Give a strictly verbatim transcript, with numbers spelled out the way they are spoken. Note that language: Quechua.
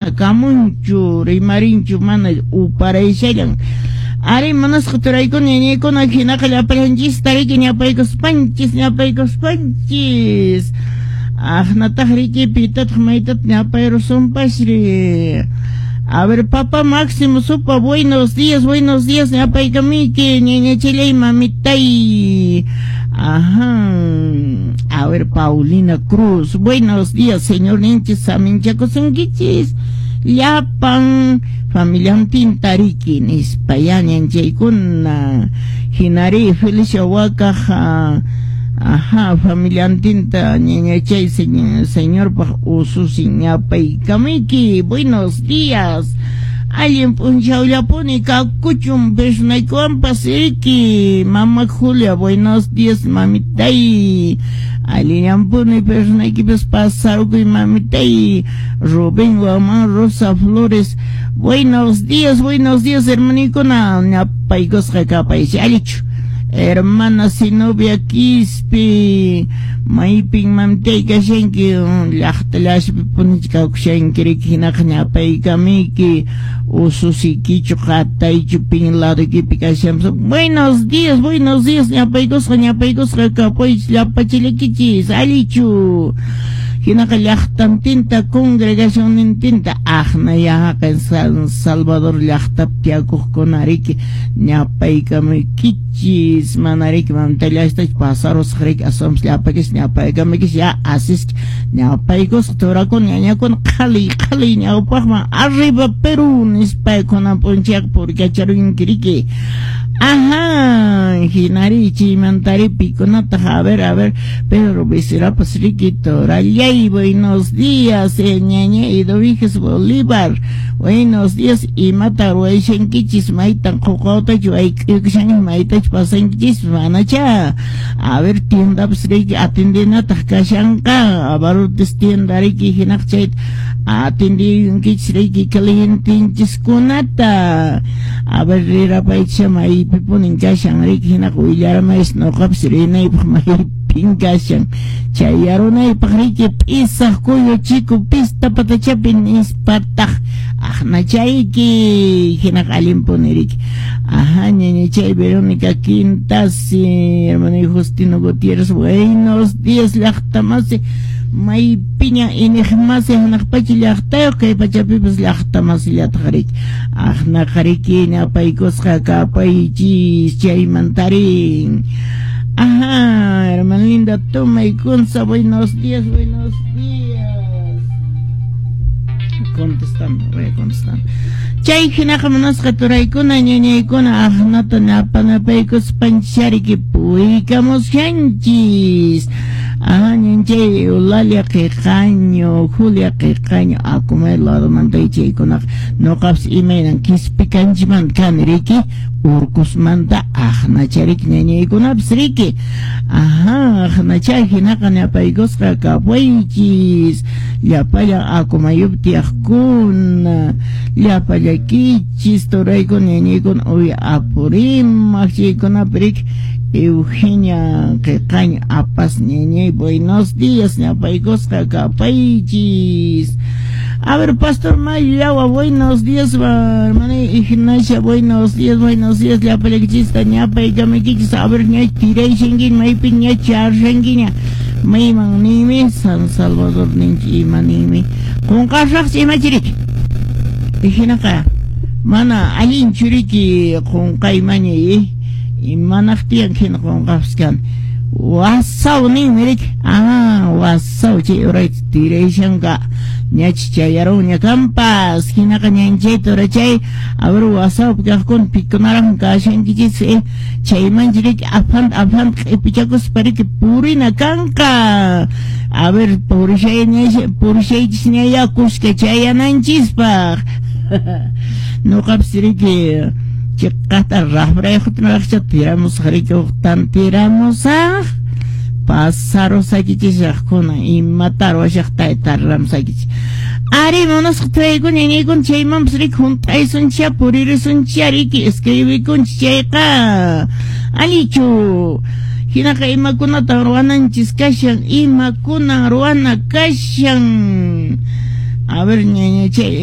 Kamunchu rimarinchu mana uparaysallan. Ari manasqa turaykuna ñañaykuna hinaqa llapallanchista riki ñapaykuspanchis ñapaykuspanchis. Aqnataq riki pitataq maytataq ñapayrusunpasri. A ver, papá Máximo Supa, buenos días, buenos días, ñapaykamiki, ñañachillay mamitay. Ajá. A ver, Paulina Cruz, buenos días, señor ninchis, saminchakusunkichis. Llapan familiantinta riki nispa ya ñanchaykuna. Hinari Felicia Wakaja. Ajá, familiantinta ñañachay señorpaq ususin ñapaykamiki. Buenos días. Allin p'unchawllapuni kakuchun personaykuwanpas riki. Mama Julia, buenos días, mamitay. Allinllampuni personaykipas pasarkuy, mamitay. Rubén Guamán Rosa Flores, buenos días, buenos días, hermanikuna. Ñapaykusqa kapaysi allichu. Hermana Zenobia Quispe, maypin mamitay kashanki, llaqtallaspi punichi kawkushanki riki, hinaqa ñapaykamiki, ususikichu qataychu pin ladoykipi kashanpas. Buenos días, buenos días, ñapaykusqa ñapaykusqa kapuychis llapachillakichis, allichu. Hinaqa llaqtantinta congregacionnintinta aqna yaqa San Salvador llaqtapi tiyakuqkuna riki ñapaykamuykichis, mana riki mamitallastach pasarusaq riki aswanpas llapakis ñapaykamuykichis ya asisqa ñapaykusqa turakuna ñañakuna qhaliy qhaliy ñawpaqman arriba Perú nispa kunan p'unchayqa purikacharunki riki. Ajá, hinari chaymantari pikunataq, a ver, a ver, Pedro Becerrapas riki torallay, buenos días, eh, ñaña Eduviges Bolívar, buenos días, imata ruwayshankichis, maytan quqawtachu ayk'uykushanki, maytachu pasankichis, manacha, a ver, tiendapas riki atendinataq kashanqa, abarrotes tienda riki hinaq chayta atendinkichis riki clientenchiskunata, a ver, rirapaycha maypipunin kashan riki hinaqa willaramaysi nuqapas rinaypaq maypin kashan chayarunaypaq riki p'isaq kuyu chiku pista patachapi nispataq aqnachayki hinaqa allinpuni riki. Ajá, ñañachay Verónica Quintasi, hermano Justino Gutiérrez, buenos días llaqtamasi, maypiña iniqmasi hanaq pacha llaqtayuq kay pachapipas llaqtamasillataq riki. Aqnaqa riki ñapaykusqa kapaychis chaymantarin. Ajá, hermana linda Toma y Conza, buenos días, buenos días. Contestando, voy a contestar. Chay hinaqa munasqa turaykuna ñañaykuna aqnata ñapanapaykuspanchariki puykamushanchis. Ajá, ñanchay Eulalia Qiqaño, Julia Qiqaño, akumay ladomanta chaykunaqa nuqapas imaynan Quispicanchimanta kani riki, Urcosmanta aqnachariki ñañaykunapas riki. Ajá, aqnachay hinaqa ñapaykusqa kapuychis, llapallan akumayupi tiyaqkuna, llapallakichis turaykuna ñañaykuna uy Apurímac chaykunapi riki. Eugenia Qiqaño apas ñañay, buenos días, ñapaykusqa kapaychis. A ver, Pastor Mayawa, buenos días, hermana Ignacia, buenos días, buenos días, llapallakichista ñapaykamuykichis. A ver, ña tirayshankiña, maypi ña charshankiña, mayman ninmi, San Salvador ninchi ima ninmi, qunqasaqchi imachiriki. Hinaqa mana allinchu riki qunqaymañay, imanaqtiyan hina qunqapas kan. Wasaw ninmi riki, ah, wasaw chay urayta tirayshanka ñachi chayarunña kanpas, hinaqa ñanchay turachay, a ver, wasawpi kaqkuna pikunaraqmi kashankichis, eh, chaymanchi riki afanta afanta q'ipichakuspa riki purina kanqa. A ver, purishaychis ñaya kuska chayananchispaq. Nuqapas riki chiqata rafrayuqta tiramusaq riki uqtan tiramusaq pasarusaykichishaqkuna imata ruwashaqta tarramusaykichis. Ari munasqa turaykuna ñañaykuna chaymanpas riki hunt'aysunchá puririsunchá riki escribikunchis chayqa allichu. Hinaqa imakunatan ruwananchis kashan, imakunan ruwana kashan. A ver, ñañachay.